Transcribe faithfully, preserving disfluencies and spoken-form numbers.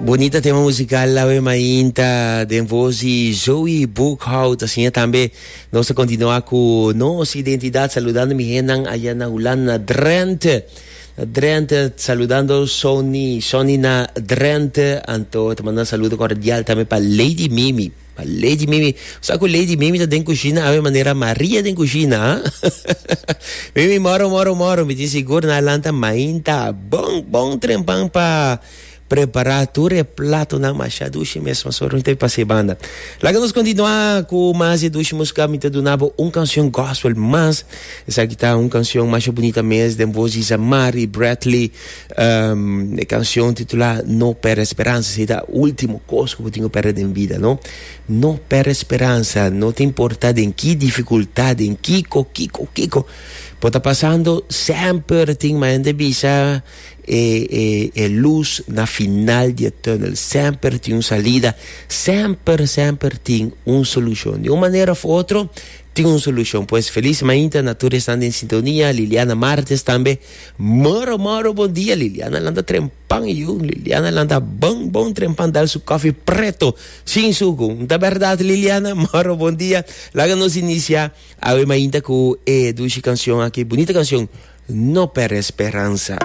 Bunita tema musical awe mainta den voz di Zoe Boekhout. Asina tambe nos ta continua cu Nos Identidad, saludando mi hendenan aya na Hulanda, na Drenthe. Na Drenthe, saludando Sony, Sony na Drenthe. Anto, ta manda saludo cordial tambe pa Lady Mimi. Pa Lady Mimi. Sa cu Lady Mimi ta den cushina, awe manera Maria den cushina, ha? Mimi, moro, moro, moro. Mi tin sigur nan a lanta mainta. Bon, bon trempan pa prepara tur e platonan masha dushi mes, mas ora mi ta pasa e banda. Laga nos continua cu mas e dushi musica. Mi ta duna bo un cancion gospel mas. Esaki ta un cancion masha bunita mes den voz di Zamari Bradley. Um, e cancion titula No Perde Speransa. Esey ta ultimo cos cu bo tin cu perde den bida, no? No perde speransa. No ta importa den ki dificultad, den kiko, kiko, kiko bo ta pasando, semper tin, ma hende bisa, e, e, e luz na final di e tunnel. Semper tin un salida, semper, semper tin un solucion. Di un manera of otro, tin un solucion. Pues feliz mainta na tur esnan den sintonia. Liliana Martes tambe. Moro, moro, bon dia. Liliana lanta trempan yu. Liliana lanta bon, bon trempan dal su koffie preto. Sin suco. Ta berdad, Liliana? Moro, bon dia. Laga nos inicia awe mainta cu e dushi cancion aki. Bunita cancion. No Perde Speransa.